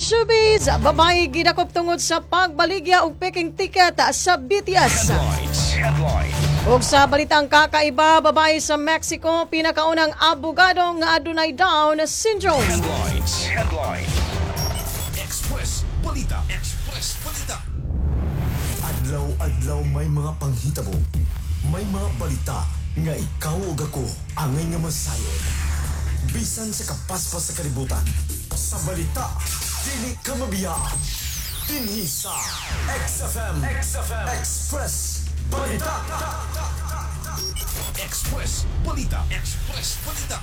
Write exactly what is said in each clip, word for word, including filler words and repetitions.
Showbiz, babae gidakop tungod sa pagbaligya og peking ticket sa B T S. Headlines. Headlines. Ug sa balitang kakaiba, babae sa Mexico pinakaunang abogado nga adunay Down syndrome. Headlines. Headlines. Express Balita. Express Balita. Adlaw-adlaw may mga panghitabo. May mga balita nga ikaw ug ako angay nga masayod. Bisan sa kapaspas sa kalibutan. Sa balita, dili ka mabiya. Dinhi sa X F M, X F M Express Balita. Express Balita. Express Balita.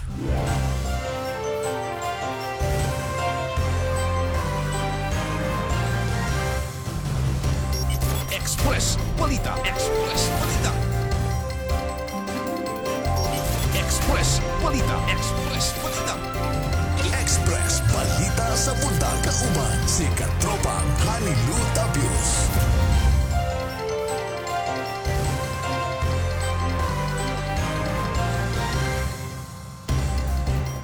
Express Balita. Express Balita. Express Balita. Express Balita. Express Balita sa buntag kauban si Katropang Hanilu Tabios.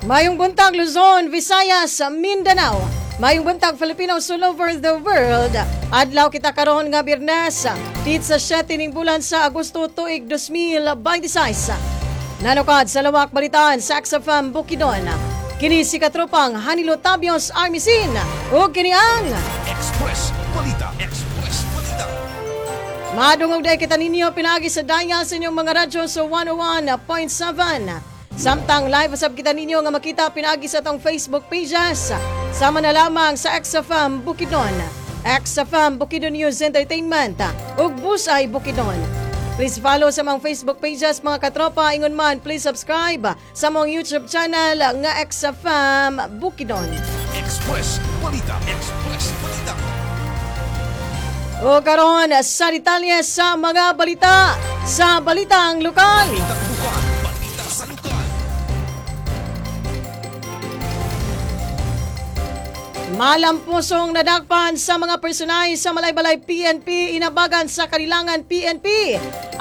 Mayong buntag, Luzon, Visayas, Mindanao. Mayong buntag, Filipinos all over the world. Adlaw kita karon nga Biyernes, titsa siyete ning bulan sa Agosto tuig dalawang libo bente sais. Nanukad sa lawak balitaan sa X F M Bukidnon. Kini si katropang Hanilo Tabios Armisin. Ug kini ang Express Balita. Express Balita. Madungog day kita ninyo pinaagi sa dial sa inyong mga radyo sa one oh one point seven. Samtang live usab kita ninyo nga makita pinaagi sa atong Facebook pages. Sama na lamang sa X F M Bukidnon, X F M Bukidnon News Entertainment ug Busay Bukidnon. Please follow sa mga Facebook pages, mga katropa. Ingon man, please subscribe sa mga YouTube channel nga X F M Bukidnon. Express Balita. Express Balita. O karon sa detalye sa mga balita sa Balitang Lokal. Balitang Lokal. Balita sa lokal. Malampusong nadakpan sa mga personay sa Malaybalay P N P, inabagan sa Kalilangan P N P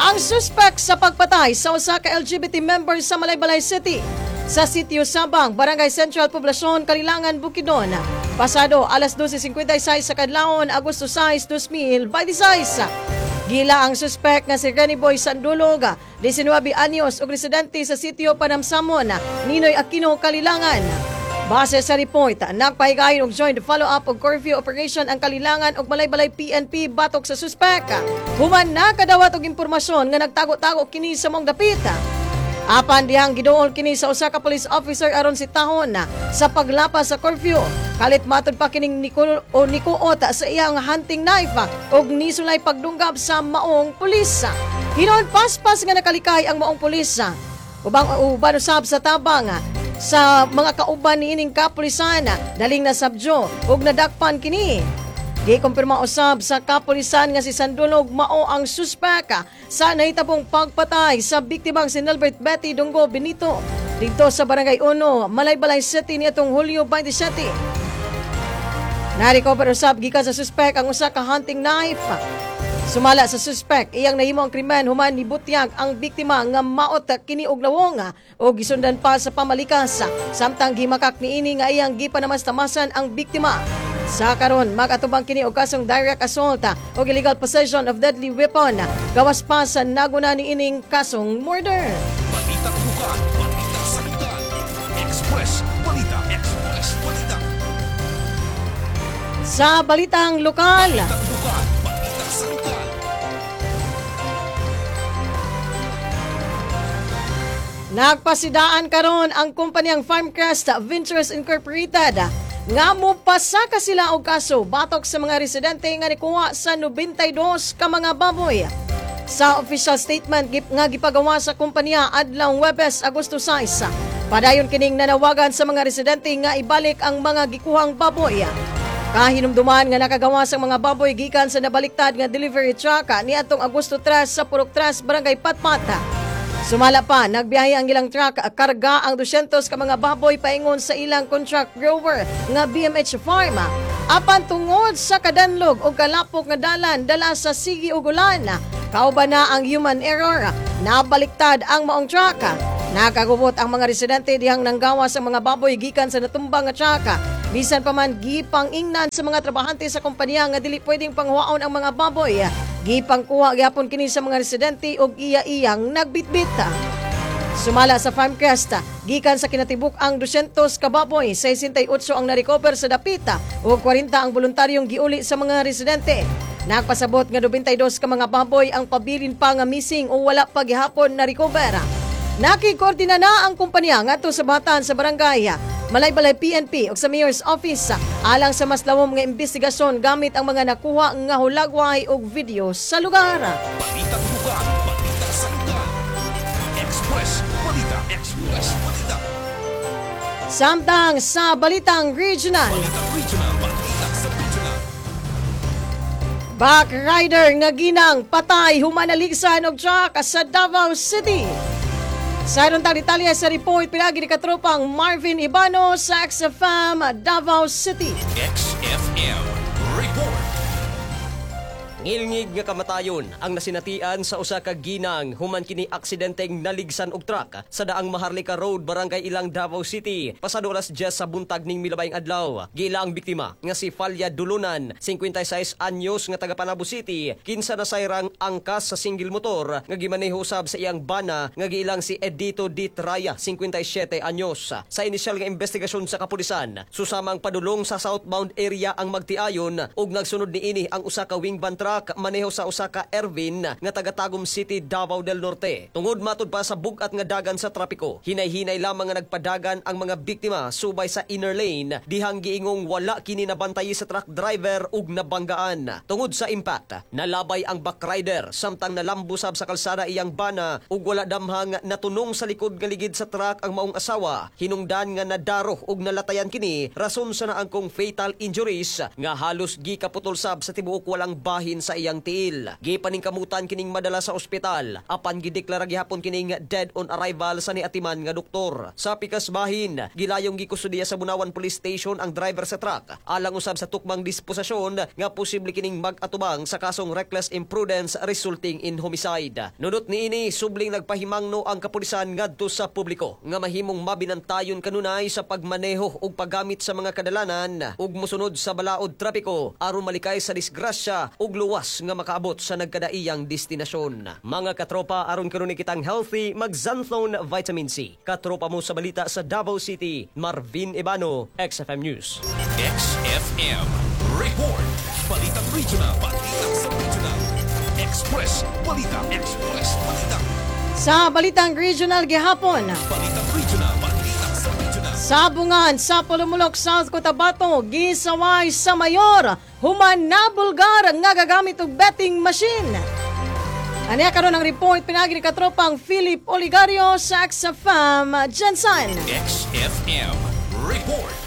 ang suspect sa pagpatay sa usa ka L G B T member sa Malaybalay City sa Sitio Sabang, Barangay Central Poblacion, Kalilangan, Bukidnon. Pasado alas dose singkwenta sais sa kadlawon, Agosto sais, dalawang libo bente sais. Gila ang suspect nga si Renny Boy Sandulog, disinuybe anyos ug residente sa Sitio Panamsamon, Ninoy Aquino, Kalilangan. Base sa report, nagpahigayon og joint follow-up og curfew operation ang Kalilangan ug Malaybalay P N P batok sa suspect. Human nakadawat og impormasyon nga nagtago-tago kini sa maong dapit. Apan dihang giduol kini sa usa ka police officer aron sitahon sa paglapas sa curfew. Kalit matud pa kining niko o nikuot sa iyang hunting knife ug nisulay pagdunggab sa maong pulis. Hinon paspas nga nakalikay ang maong pulis. Ubang uban usab sa tabang sa mga kauban niining kapulisan, daling nasabyo ug nadakpan kini. Gikumpirma usab sa kapulisan nga si Sandulog mao ang suspek sa nahitabong pagpatay sa biktimang si Nelbert Betty Dunggo Benito dito sa Barangay one, Malaybalay City niadtong Hulyo bainte siyete. Narecover usab gikan sa suspek ang usa ka hunting knife. Sumala sa suspek, iyang nahimo ang krimen human nibutyag ang biktima nga maot kini og lawong o gisundan pa sa pamalikas samtang gimakak niini nga iyang gipanamastamasan ang biktima. Sa karon magatubang kini og kasong direct assault o illegal possession of deadly weapon gawas pa sa naguna niining kasong murder. Balitang Lokal. Balita sa lokal. Express Balita. Express Balita. Sa Balitang Lokal, Balitang Lokal. Balita sa lokal. Nagpasidaan karon ang kumpanyang Farmcrest Ventures Incorporated nga mopasaka sila og kaso batok sa mga residente nga nikuha sa nobentay dos ka mga baboy. Sa official statement gip- nga gipagawa sa kumpanya adlaw Huwebes, Agosto sais, padayon kining nanawagan sa mga residente nga ibalik ang mga gikuhang baboy. Kahinumduman nga nakagawa sa mga baboy gikan sa nabaliktad nga delivery truck niadtong Agosto tres sa Purok tres, Barangay Patpat. Sumala pa, nagbiyahe ang ilang truck, karga ang dosyentos ka mga baboy paingon sa ilang contract grower nga B M H Farm. Apan tungod sa kadanlog o kalapok nga dalan dala sa sigi ug ulan, kauban na ang human error, nabaliktad ang maong truck. Nakagubot ang mga residente dihang nanggawa sa mga baboy gikan sa natumbang nga truck. Bisan pa man gipang-ingnan sa mga trabahante sa kompanya nga dili pwedeng panghuwaon ang mga baboy. Gipangkuha gyapon kini sa mga residente og iya-iyang nagbitbit. Sumala sa Farmcrest, gikan sa kinatibuk ang dosyentos ka baboy, sesentay otso ang narecover sa dapita ug kwarenta ang voluntaryong giuli sa mga residente. Nagpasabot nga labindua ka mga baboy ang pabilin pa nga missing o wala pa gihapon na recover. Nakikoordina na ang kumpanya ngadto sa batan sa barangay, Malaybalay P N P ug sa Mayor's Office alang sa mas lawom nga investigasyon gamit ang mga nakuha nga hulagway ug video sa lugar. Balita Tubukan, Balita sa lugar. Express Balita, Express Balita. Samtang sa Balitang Regional, Balita Regional, Balita sa Regional. Backrider nga ginang patay human naligsan og truck sa Davao City. Sa aron tang detalye sa report pinagi ni katropang Marvin Ibano sa X F M Davao City. X F M Report. Ngilngig nga kamatayon ang nasinatian sa usa ka ginang human kini aksidenteng naligsan og truck sa daang Maharlika Road, Barangay Ilang, Davao City, pasado alas diyes sa buntag ning milabayng adlaw. Giila ang biktima nga si Falya Dulunan, singkwentay sais anyos nga taga Panabo City, kinsa nasayrang angkas sa single motor nga gimaneho sab sa iyang bana nga giilang si Edito D. Traya, singkwentay siyete anyos. Sa inisyal nga investigasyon sa kapulisan, susamang padulong sa southbound area ang magtiayon ug nagsunod niini ang usa ka wing van truck maneho sa usa ka Ervin nga taga Tagum City, Davao del Norte. Tungod matud pa sa bug-at nga dagan sa trapiko, hinay-hinay lamang nga nagpadagan ang mga biktima subay sa inner lane dihang giingong wala kini nabantay sa truck driver ug nabanggaan. Tungod sa impact, nalabay ang backrider samtang nalambo sab sa kalsada iyang bana ug wala damhang natunong sa likod nga ligid sa truck ang maong asawa. Hinungdan nga nadaro ug nalatayan kini rason sa naangkong fatal injuries nga halos gikaputol sab sa tibuok walang bahin sa iyang tiil. Gipaningkamutan kining madala sa ospital apan gideklara gihapon kining dead on arrival sa niatiman nga doktor. Sa pikas bahin, gilayong gikustudiya sa Bunawan Police Station ang driver sa truck alang usab sa tukmang disposisyon nga posible kining mag-atubang sa kasong reckless imprudence resulting in homicide. Nunot niini, subling nagpahimangno ang kapulisan ngadto sa publiko nga mahimong mabinantayon kanunay sa pagmaneho ug paggamit sa mga kadalanan ug mosunod sa balaod trapiko aron malikay sa disgrasya ug luwas nga makaabot sa nagkadaiyang destinasyon. Mga katropa, aron kanunay kitang healthy, mag-Xanthone Vitamin C. Katropa mo sa balita sa Davao City, Marvin Ebano, X F M News. X F M Report. Balitang Regional, Balita sa Regional. Express Balita, Express Balita. Sa Balitang Regional gihapon, Balitang Regional, Balita sa Regional. Sabungan sa Polomolok, South Cotabato, gisaway sa mayor, human nabulgar nga gagamit og betting machine. Aniya karon ang report pinagi ni katropang Philip Oligario sa X F M Jensen. X F M Report.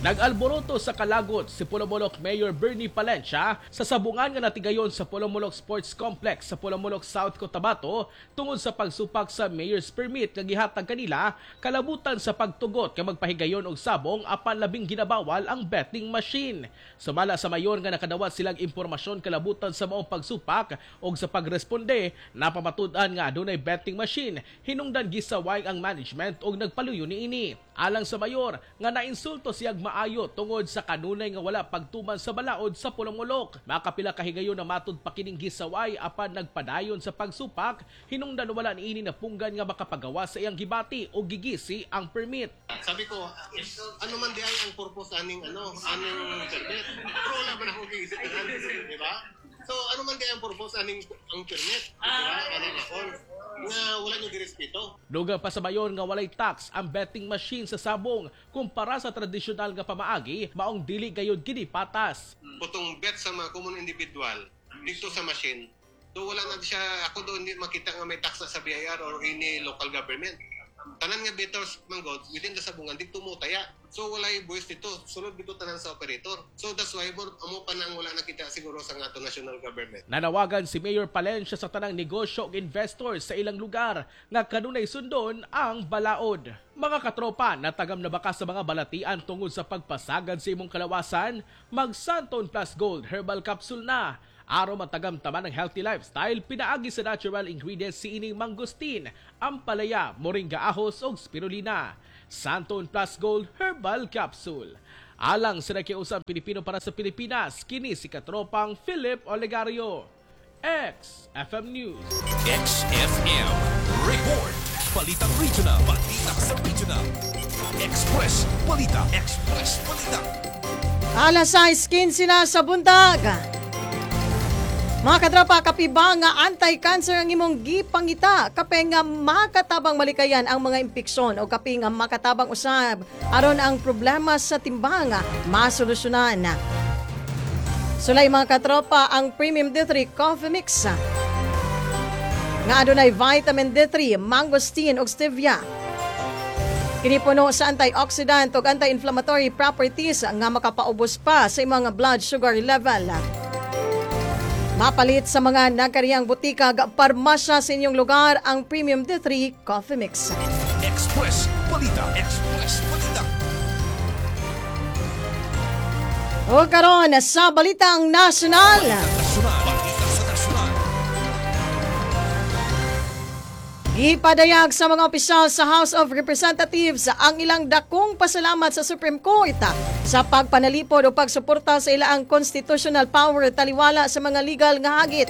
Nag-alboroto sa kalagot si Polomolok Mayor Bernie Palencia sa sabungan nga natigayon sa Polomolok Sports Complex sa Polomolok, South Cotabato tungod sa pagsupak sa mayor's permit nga gihatag kanila kalabutan sa pagtugot nga magpahigayon og sabong apan labing ginabawal ang betting machine. Sumala sa mayor nga nakadawat silang impormasyon kalabutan sa maong pagsupak og sa pagresponde napamatud-an nga adunay betting machine, hinungdan gisaway ang management og nagpaluyo niini. Alang sa mayor nga nainsulto siyag maayo tungod sa kanunay nga wala pagtuman sa balaod sa Polomolok. Makapila kahigayon na matud pa kining gisaway apan nagpadayon sa pagsupak, hinungdan wala niini napunggan nga makapagawa sa iyang gibati o gigisi ang permit. Sabi ko, ano man di ay ang purpose aning ano, aning permit? Pero wala man ako giisip na, di ba? So ano man di ay ang purpose aning ang permit, di ba? Anong akon nga wala nyo girespeto. Dugang pa sa mayor nga walay tax ang betting machine sa sabong kumpara sa tradisyonal nga pamaagi, maong dili gayud kini patas. Putong bet sa mga common individual dito sa machine, do wala na siya, ako doon hindi makita nga may tax na sa B I R or any local government. Tanan nga bettors manggod within the sabungan dito mo taya. So walay buwis dito, sulod dito tanan sa operator. So that's why more amo pa nang wala nakita siguro sa nga ato national government. Nanawagan si Mayor Palencia sa tanang negosyo ug investors sa ilang lugar nga kanunay sundon ang balaod. Mga katropa, natagam na ba ka sa mga balatian tungod sa pagpasagad sa imong kalawasan? Mag Xanthone Plus Gold Herbal Capsule na. Aron matagam taman ng healthy lifestyle pinaagi sa natural ingredients si ining mangosteen, ampalaya, moringa ahos ug spirulina. Santon Plus Gold Herbal Capsule. Alang sa nakiusang Pilipino para sa Pilipinas, kini si katropang Philip Olegario. X F M News. X F M Report. Balitang Regional. Balita sa Regional. Express Balita. Express Balita. Alas sais kinse na sa buntag. Mga katropa, kape ba nga anti-cancer ang imong gipangita? Kape nga makatabang malikayan ang mga impeksyon o kape nga makatabang usab aron ang problema sa timbang masolusyonan. Sulay, mga katropa, ang Premium D three Coffee Mix nga adunay vitamin D three, mangosteen ug stevia. Kini puno sa antioxidant ug anti-inflammatory properties nga makapaubos pa sa imong blood sugar level. Mapalit sa mga nagkariyang butika ug parmasya sa inyong lugar ang Premium D three Coffee Mix. Express Balita. Express Balita. O karon sa Balitang Nasyonal. Nasyonal. Balita sa Nasyonal. Gipadayag sa mga opisyal sa House of Representatives ang ilang dakong pasalamat sa Supreme Court sa pagpanalipod o pagsuporta sa ilang constitutional power taliwala sa mga legal nga hagit.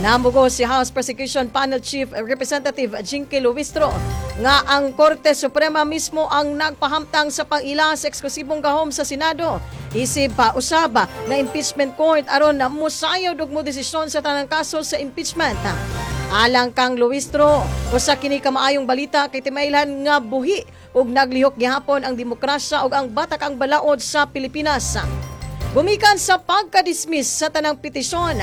Namugo si House Prosecution Panel Chief Representative Jinky Luistro nga ang Korte Suprema mismo ang nagpahamtang sa pang-ila sa eksklusibong gahom sa Senado. Isip pa usab na impeachment court aron na musayod og mo desisyon sa tanang kaso sa impeachment. Alang kang Luistro, usa kini ka maayong balita kay timailhan nga buhi ug naglihok gihapon ang demokrasya ug ang batakang balaod sa Pilipinas. Gumikan sa pagka-dismiss sa tanang petisyon,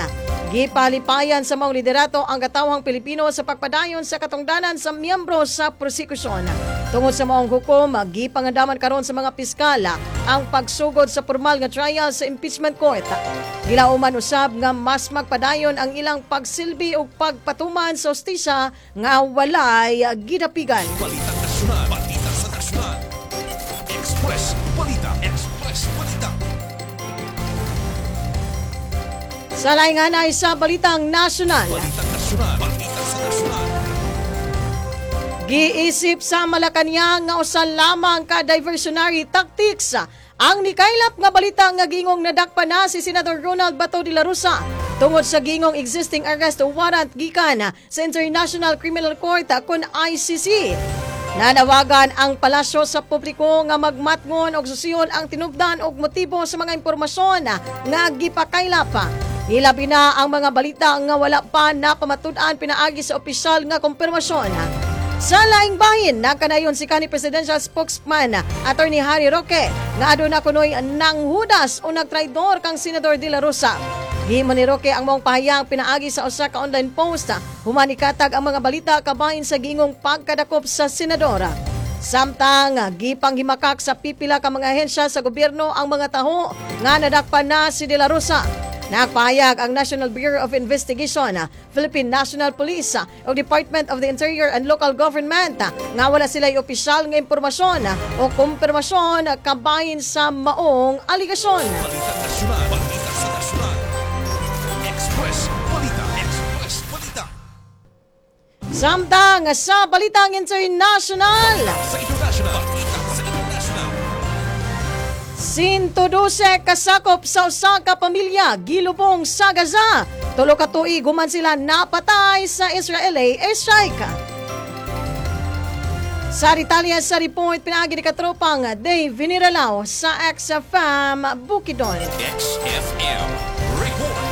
gipalipayan sa maong liderato ang katawhang Pilipino sa pagpadayon sa katungdanan sa miyembro sa prosekusyon. Tungod sa maong hukom, gipangandaman karon sa mga piskal ang pagsugod sa formal nga trial sa impeachment court. Gilauman usab nga mas magpadayon ang ilang pagsilbi ug pagpatuman sa hustisya nga walay gidapigan. Balita Nasyonal. Balita sa Nasyonal. Express Balita. Express Balita. Sa laing hanay sa Balitang Nasyonal. Balita Nasyonal. Balita sa Nasyonal. Giisip sa Malacanang nga usa lamang ka diversionary tactics ang nikaylap nga balita nga gingong nadakpan na si Senador Ronald Bato de la Rosa tungod sa gingong existing arrest warrant gikan sa International Criminal Court kon I C C. Nanawagan ang palasyo sa publiko nga magmatngon og susiyon ang tinubdan og motibo sa mga impormasyon nga gipakaylap. Hilabi na ang mga balita nga wala pa napamatud-an pinaagi sa opisyal nga kumpirmasyon. Sa laing bahin, nakanayon si kanhi presidential spokesman Attorney Harry Roque nga aduna kunoy nanghudas o nagtraidor kang Senador De La Rosa. Gihimo ni Roque ang maong pahayag pinaagi sa usa ka online post human ikatag ang mga balita kabahin sa gingong pagkadakop sa senador. Samtang gipanghimakak sa pipila ka mga ahensya sa gobyerno ang mga taho nga nadakpan na si De La Rosa. Nagpahayag ang National Bureau of Investigation, Philippine National Police o Department of the Interior and Local Government nga wala sila opisyal nga impormasyon o kumpirmasyon kabahin sa maong aligasyon. Balita Nasyonal. Balita sa Nasyonal. Express Balita. Express Balita. Samtang sa Balitang International, Sa International. Balita sa International. one hundred twelve kasakop sa usa ka pamilya gilubong sa Gaza. Tulo ka tuig human sila napatay sa Israeli airstrike. Sa detalye sa report pinaagi ni katropang Dave Viniralao sa X F M Bukidnon. X F M Report.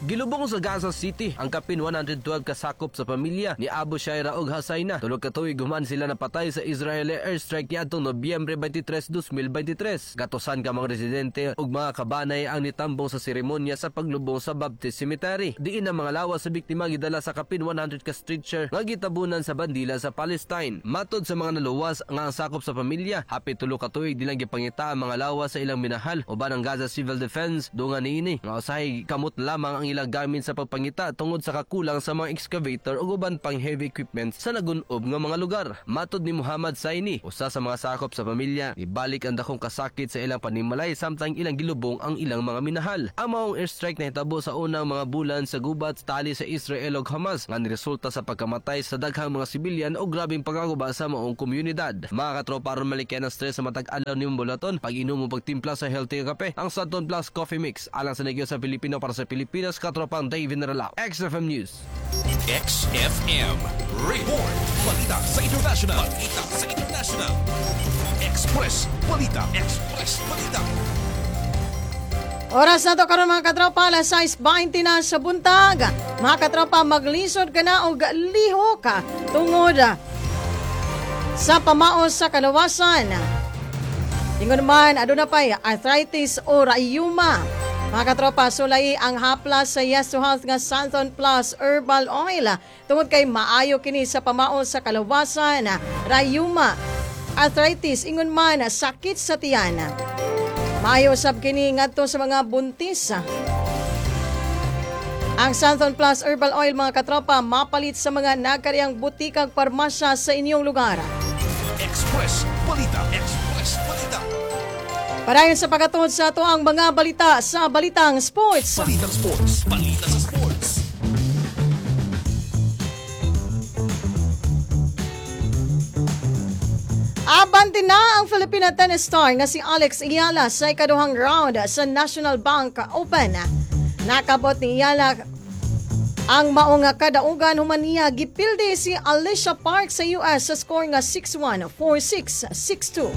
Gilubong sa Gaza City ang kapin one hundred twelve kasakop sa pamilya ni Abu Shaira ug Hasayna. Tulo ka tuig human sila napatay sa Israeli airstrike niadtong Nobyembre twenty-three, twenty twenty-three. Gatusan ka mga residente ug mga kabanay ang nitambong sa seremonya sa paglubong sa Baptist Cemetery. Diin ang mga lawas sa biktima gidala sa kapin one hundred ka stretcher nga gitabunan sa bandila sa Palestine. Matod sa mga naluwas nga ang sakop sa pamilya, hapit tulo ka tuig nilang gipangita ang mga lawas sa ilang minahal uban ang Gaza Civil Defense dungan niini nga usahay kamot lamang ang ilang gamit sa pagpangita tungod sa kakulang sa mga excavator ug uban pang heavy equipment sa nagun-ob nga mga lugar. Matod ni Muhammad Saini, usa sa mga sakop sa pamilya, nibalik ang dakong kasakit sa ilang panimalay samtang ilang gilubong ang ilang mga minahal. Ang maong airstrike nahitabo sa unang mga bulan sa gubat tali sa Israel ug Hamas nga niresulta sa pagkamatay sa daghang mga sibilyan o grabeng pagkaguba sa maong komunidad. Mga katropa, aron malikyan ang stress sa matag adlaw nimong bulaton, pag-inom mo pagtimpla sa healthy nga kape, ang Santon Plus Coffee Mix. Alang sa negosyo sa Pilipino para sa Pilipinas, katropang David Naralao. X F M News. X F M Report. Balita sa International. Balita sa International. Express Balita. Express Balita. Oras na to karon, mga katropa, alas sais twenty na sa buntag. Mga katropa, maglisod ka na og lihok ka tungod sa pamaos sa kalawasan. Ingon man, aduna pay arthritis o rayuma. Mga katropa, sulay ang haplas sa Yes to Health nga Santon Plus Herbal Oil. Tungod kay maayo kini sa pamaos sa kalawasan, rayuma, arthritis, ingon man, sakit sa tiyan. Maayo usab kini ngadto sa mga buntis. Ang Santon Plus Herbal Oil, mga katropa, mapalit sa mga nagkariyang butikag parmasya sa inyong lugar. Express Balita. Express Balita. Padayon sa pagkatuod sa ato ang mga balita sa Balitang Sports. Balitang Sports. Balita sa Sports. Abante na ang Filipina tennis star nga si Alex Eala sa ikaduhang round sa National Bank Open. Nakabot ni Eala ang maong kadaugan human niya gipildi si Alycia Park sa U S sa score nga six one, four six, six two.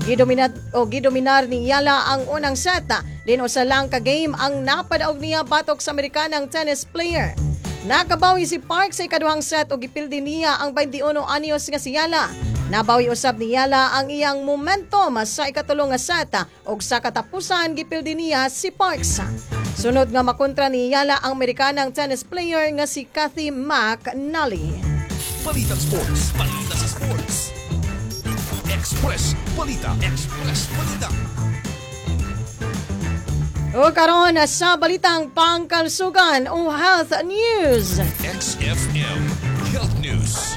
Gidominar o gidominar ni Eala ang unang set. Din usa lang ka game ang napadaog niya batok sa Amerikanang tennis player. Nakabawi si Park sa ikaduhang set o gipildi niya ang twenty-one anyos nga si Eala. Nabawi usab ni Eala ang iyang momentum sa ikatulo nga set ug sa katapusan gipildi niya si Parks. Sunod nga makontra ni Eala ang Amerikanang tennis player nga si Cathy McNally. Balitang Sports. Balita sa Sports. Express Balita. Express Balita. O karon sa Balitang Pangkalusugan o Health News. X F M Health News.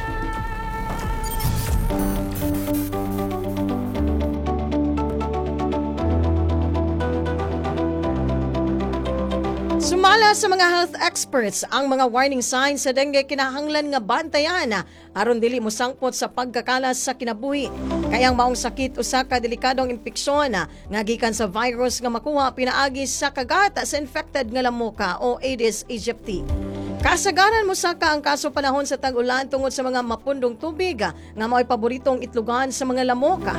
Sumala sa mga health experts, ang mga warning signs sa dengue kinahanglan nga bantayan aron dili mosangpot sa pagkakalas sa kinabuhi. Kay ang maong sakit usa ka delikadong impeksyon nga gikan sa virus nga makuha pinaagi sa kagat sa infected nga lamoka o Aedes aegypti. Kasagaran mosaka ang kaso panahon sa tag-ulan tungod sa mga mapundong tubig nga mao'y paboritong itlugan sa mga lamoka.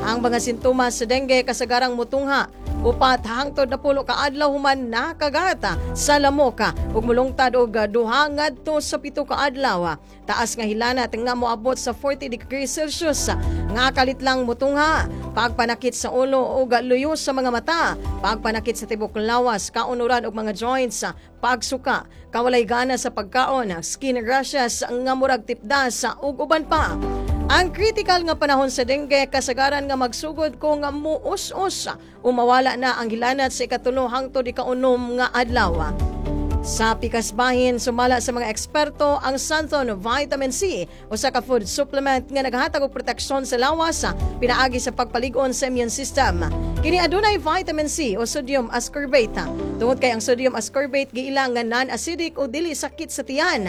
Ang mga sintomas sa dengue kasagarang mutungha upat hangtod napulo ka adlaw human nakagata sa lamoka ug mulungtad og duha ngadto sa pito ka adlaw. Taas nga hilanat nga moabot sa forty degrees Celsius nga kalit lang mutungha, pagpanakit sa ulo ug luyo sa mga mata, pagpanakit sa tibok lawas, kaunuran og mga joints, pagsuka, kawalay gana sa pagkaon, skin rashes nga murag tipdas ug uban pa. Ang critical nga panahon sa dengue kasagaran nga magsugod kung muus-us o mawala na ang hilanat sa ikatulo hangtod ikaunom nga adlaw. Sa pikas bahin, sumala sa mga eksperto, ang Santhon Vitamin C usa ka food supplement nga naghatag og proteksyon sa lawas pinaagi sa pagpalig-on sa immune system. Kini adunay vitamin C o sodium ascorbate. Tungod kay ang sodium ascorbate giila nga non-acidic o dili sakit sa tiyan.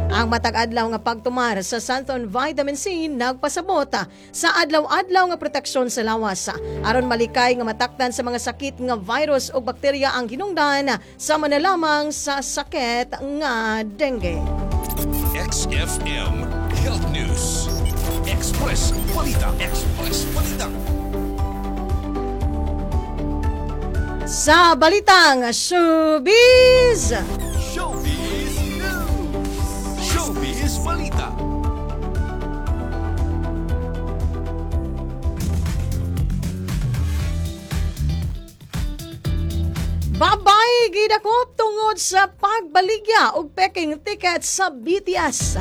Ang matag adlaw nga pagtumar sa Santhon Vitamin C nagpasabot sa adlaw-adlaw nga proteksyon sa lawas aron malikay nga matakdan sa mga sakit nga virus o bakterya ang hinungdan sama na lamang sa sakit nga dengue. X F M Health News. Express Balita. Express Balita. Sa Balitang Showbiz! Showbiz News. Showbiz Balita. Babay gidakop tungod sa pagbaligya og peking ticket sa B T S.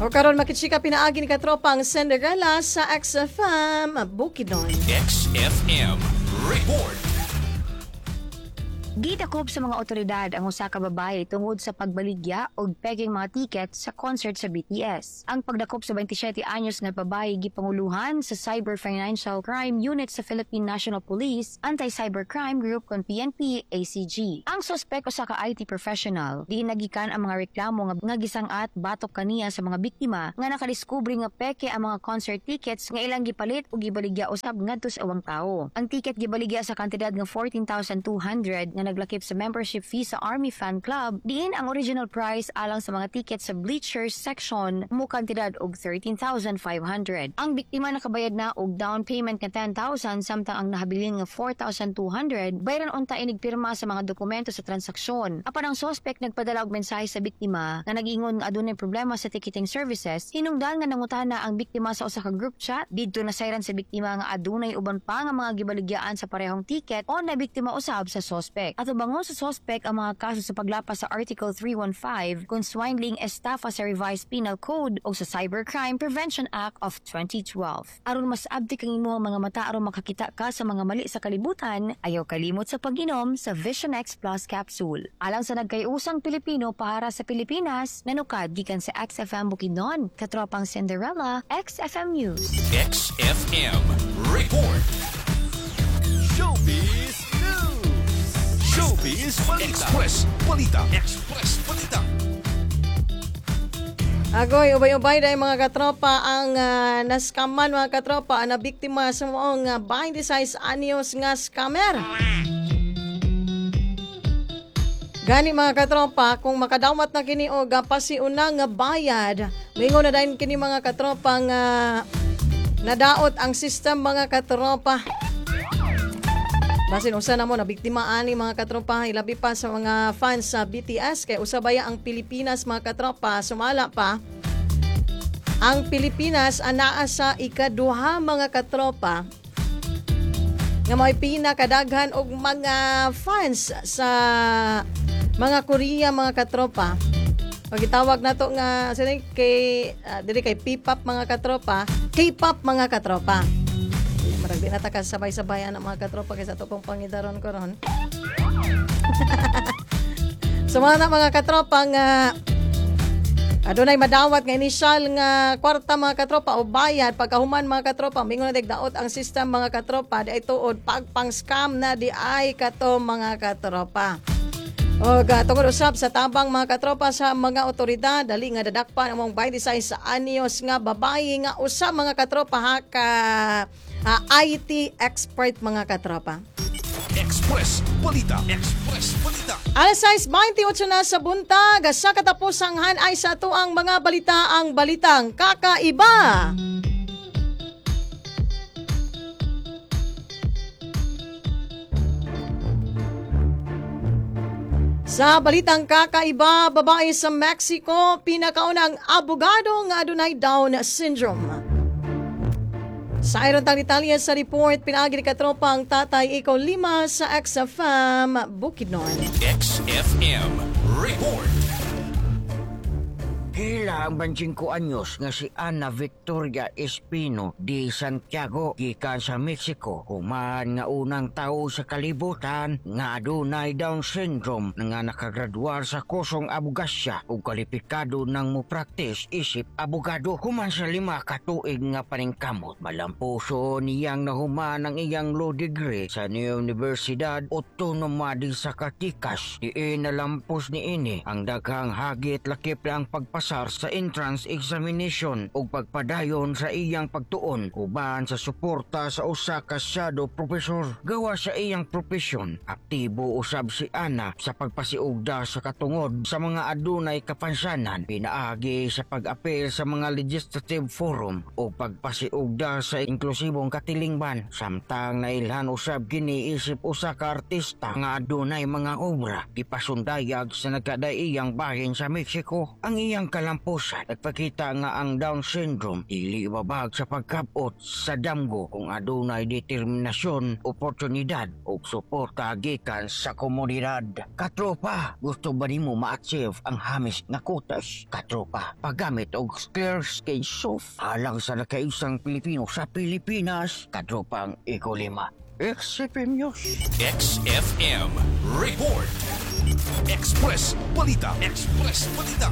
O karon makitsika pinaagi ni katropa ang Cinderella sa X F M Bukidnon. X F M Report. Gidakop sa mga otoridad ang usa ka babae tungod sa pagbaligya og pekeng mga tiket sa concert sa B T S. Ang pagdakop sa twenty-seven anyos nga babae gipanguluhan sa Cyber Financial Crime Unit sa Philippine National Police Anti-Cybercrime Group kon P N P A C G. Ang suspek usa ka I T professional. Diin nagikan ang mga reklamo nga, nga gisang-at batok kaniya sa mga biktima nga nakadiskubre nga peke ang mga concert tickets nga ilang gipalit ug gibaligya usab ngadto sa ubang tawo. Ang ticket gibaligya sa kantidad nga fourteen thousand two hundred nga naglakip sa membership fee sa Army Fan Club, diin ang original price alang sa mga ticket sa bleachers section mo kantidad og thirteen thousand five hundred. Ang biktima nakabayad na og down payment nga ten thousand, samtang ang nahabilin nga four thousand two hundred bayaran unta inig pirma sa mga dokumento sa transaksyon. Apan ang suspect nagpadala og mensahe sa biktima nga nag-ingon nga adunay problema sa ticketing services. Hinungdan nga nangutana ang biktima sa usa ka group chat, didto nasayran sa biktima nga adunay uban pa nga mga gibaligyaan sa parehong ticket o na biktima usab sa suspect. Atubangon sa suspect ang mga kaso sa paglapas sa Article three one five kung swindling estafa sa Revised Penal Code o sa Cybercrime Prevention Act of twenty twelve. Aron mas abtik ang imong mga mata aron makakita ka sa mga mali sa kalibutan, ayaw kalimot sa pag-inom sa Vision X Plus Capsule. Alang sa nagkayusang Pilipino para sa Pilipinas, nanukad gikan sa X F M Bukidnon, Katropang Cinderella, X F M News. X F M Report. Showbiz News. Showbiz Balita. Express Balita. Express Balita. Agoy, ubay-ubay dahil, mga katropa, ang uh, nascaman, mga katropa, ang nabiktima sa maong uh, twenty-six anyos nga scammer. Gani, mga katropa, kung makadawat na kini og uh, pasiuna nga bayad, mingon na dayon kini, mga katropa, nga nadaot ang system, mga katropa. Basin usa na mo na biktima ani, mga katropa, ilabi pa sa mga fans sa B T S, kay usa baya ang Pilipinas, mga katropa, sumala pa ang Pilipinas anaa sa ikaduha, mga katropa, nga may pinakadaghan og mga fans sa mga Korea, mga katropa. Pag itawag nato nga sino kay uh, diri kay P-pop, mga katropa, K-pop, mga katropa. Marag di na ta ka sabay-sabay ang mga katropa kaysa ato pong pangidaron karon. So mga na, mga katropa, nga adunay madawat nga initial nga kwarta, mga katropa, o bayad, pagkahuman, mga katropa, mingon na daot ang system, mga katropa, di ay tuod pagpang scam na di ay kato, mga katropa. O tungod usab sa tabang, mga katropa, sa mga otoridad, dali nga dadakpan ang mong twenty-six anyos nga babayi nga usa, mga katropa ha, ka ah, I T expert, mga katropa. Express Balita. Express Balita. Alas sais twenty-eight na sa buntag, sa katapusang hanay sa atuang mga balita, ang balitang kakaiba. Sa balitang kakaiba, babae sa Mexico, pinakaunang abogado nga adunay Down syndrome. Sa iron tang detalye sa report, pinaagi ni katropa ang tatay ikaw lima sa X F M Bukidnon. X F M Report. Hila ang twenty-five anyos nga si Ana Victoria Espino de Santiago gikan sa Mexico human nga unang tao sa kalibutan nga adunay Down syndrome nga nakagraduar sa kursong abogasya ug kalipikado ng mo practice isip abogado human sa lima ka tuig nga paningkamot. Malampuso niyang nahuman ang iyang law degree sa Universidad Autonoma de Zacatecas, diin nalampos niini ang daghang hagit lakip ang pagpasar sa entrance examination ug pagpadayon sa iyang pagtuon uban sa suporta sa usa ka shadow professor. Gawa sa iyang propesyon, aktibo usab si Ana sa pagpasiugda sa katungod sa mga adunay kapansanan pinaagi sa pag-apel sa mga legislative forum o pagpasiugda sa inklusibong katilingban, samtang nailhan usab kini isip usa ka artista nga adunay mga obra gipasundayag sa nagkadaiyang bahin sa Mexico. Ang iyang kalampusan nagpakita nga ang Down syndrome dili babag sa pagkabot sa damgo kung adunay determinasyon, oportunidad ug suporta gikan sa komunidad. Katropa, gusto ba nimo ma-achieve ang hamis nga kutas? Katropa, paggamit og Clear Skin Soap alang sa nakaisang Pilipino sa Pilipinas. Katropang Ikolima. X F M News. X F M Report. Express Balita. Express Balita.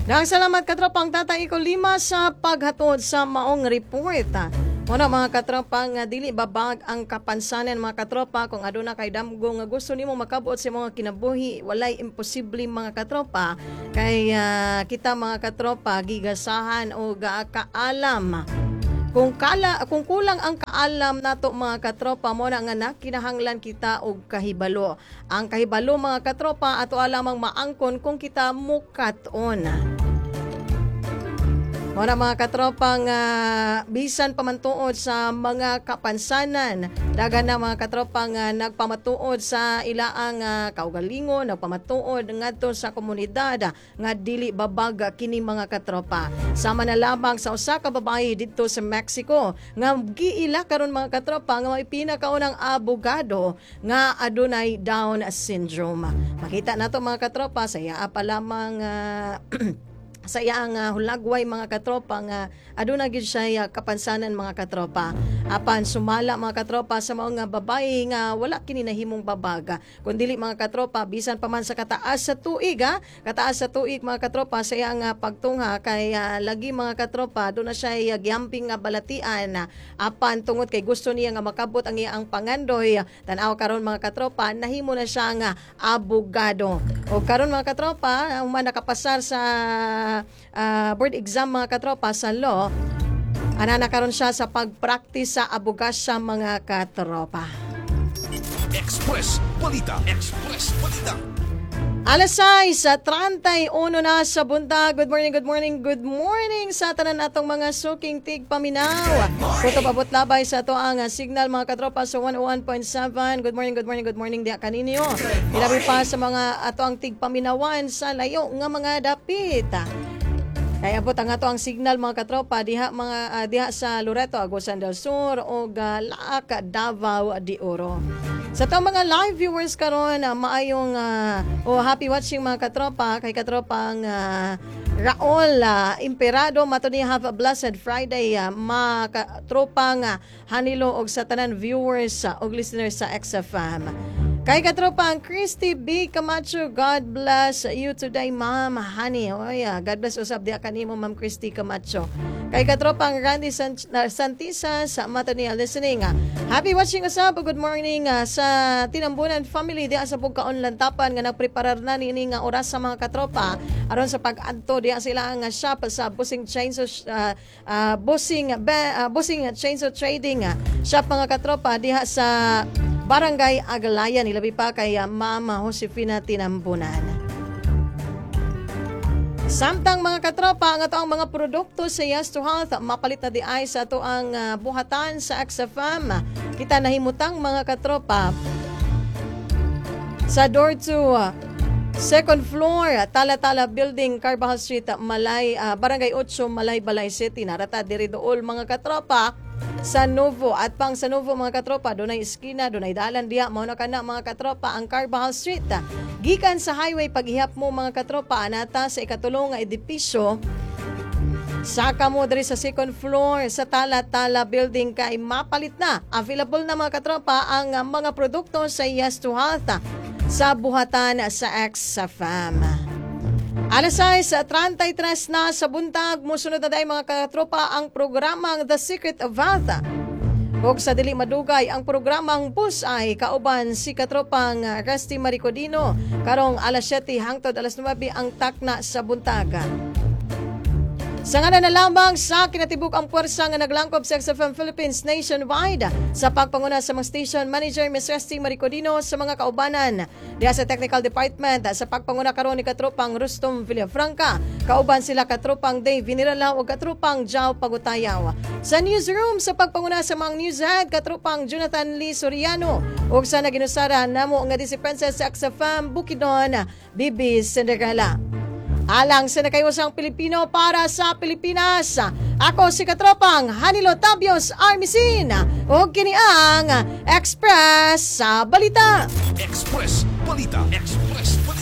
Daghang salamat, katropang Tatay Iko Lima, sa paghatod sa maong report. Muna, mga katropa, nga dili babag ang kapansanan, mga katropa, kung aduna kay damgo nga gusto nimo makabot sa mga kinabuhi, walay imposible, mga katropa, kay ah, kita, mga katropa, gigasahan o kaalam. Kung kala kung kulang ang kaalam nato, mga katropa, mo na nga nakinahanglan kita og kahibalo. Ang kahibalo, mga katropa, ato lamang maangkon kung kita mukat-on. Mao mga katropa nga bisan pamantuod sa mga kapansanan, daghan na, mga katropa, nga nagpamatuod sa ilaang uh, kaugalingon, nagpamatuod ngadto sa komunidad nga dili babag kini, mga katropa. Sama na lamang sa usa ka babae didto sa Mexico nga giila karon, mga katropa, nga may pinakaunang abogado nga adunay Down syndrome. Makita nato, mga katropa, sa iya pa lamang ah, sa iyang uh, hulagway, mga katropa, nga aduna gyud siya uh, kapansanan, mga katropa. Apan sumala, mga katropa, sa mga babae nga wala kini nahimong babag, kun dili, mga katropa, bisan pa man sa kataas sa tuig, ha, kataas sa tuig, mga katropa, sa iyang uh, pagtungha kay uh, lagi, mga katropa, do na siya uh, giamping nga balatian. Apan tungod kay gusto niya nga makabot ang iyang pangandoy, tan-aw karon, mga katropa, nahimo na siya nga abogado. O karon, mga katropa, human nakapasar sa uh, board exam, mga katropa, sa law, ana na karon siya sa pagpractice sa abogasya, mga katropa. Express Balita. Express Balita. Alas sais sa trenta'y uno na sa buntag. Good morning, good morning, good morning sa tanan atong mga suking tigpaminaw. Kutob abot labay sa ato ang signal, mga katropa, sa one oh one point seven. Good morning, good morning, good morning diha kaninyo. Ilabi pa sa mga ato ang tigpaminawan sa layo nga mga dapit. Kaya abot ang ato ang signal, mga katropa, diha mga uh, diha sa Loreto, Agusan del Sur o uh, Laak, Davao de Oro. Sa atong mga live viewers karon, uh, maayong uh, o happy watching, mga katropa, kay katropang uh, Raul uh, Imperado mato ni, have a blessed Friday, uh, mga katropang uh, Hanilo og sa tanan viewers uh, og listeners sa X F M. Kay katropang Christy B. Camacho, God bless you today, Ma'am Honey. Oy, ah, God bless usab diha kanimo, Ma'am Christy Camacho. Kay katropang Randy San- na- Santisa sa mata niya listening. Ah. Happy watching usab. Good morning ah, sa Tinambunan family diha sa Bugkaon Lantapan nga nagpreparar na niini nga oras sa mga katropa aron sa pag-adto diha sila nga shop sa Busing Chainsaw uh, uh, Busing Be, ah, Busing Chainsaw Trading ah, shop, mga katropa, diha sa Barangay Agalayan, ilabi pa kay ah, Mama Josefina Tinambunan. Samtang, mga katropa, ang ato ang mga produkto sa Yes to Health mapalit na di ay sa ato ang ah, buhatan sa X F M. Kita nahimutang, mga katropa, sa door two, second floor, Tala-Tala Building, Carbajal Street, Malay, ah, Barangay eight, Malaybalay City. Narata diri dool, mga katropa, sa Novo at pang sa Novo, mga katropa, dunay eskina, dunay dalan diha, mao na kana, mga katropa, ang Carbajal Street. Gikan sa highway, paghihap mo, mga katropa, anata sa ikatulo nga edipisyo. Saka mo diri sa second floor sa Tala Tala Building kay mapalit na. Available na, mga katropa, ang uh, mga produkto sa Yes to Health sa buhatan sa X F M. Alas sais sa trenta'y tres na sa buntag, musunod na dahil, mga katropa, ang programang The Secret of Health. Ug sa dili madugay, ang programang Bus ay kauban si katropang uh, Rusty Maricodino karong alas siyete hangtod alas nuwebe ang takna sa buntag. Sa ngalan na lamang sa kinatibuk ang puwersa nga naglangkob sa X F M Philippines nationwide, sa pagpanguna sa mga station manager Miz Resty Maricodino, sa mga kaubanan diha sa technical department sa pagpanguna karon ni katropang Rustom Villafranca, kauban sila katropang Dave Vinirala ug katropang Jao Pagutayaw. Sa newsroom, sa pagpanguna sa mga newshead katropang Jonathan Lee Soriano, ug sa naginusara namo nga di si Princess X F M Bukidnon, Bibi Cinderella. Alang sa nakaysang Pilipino, para sa Pilipinas. Ako si katropang Hanilo Tabios Armisin. Ug kini ang Express sa Balita. Express Balita. Express.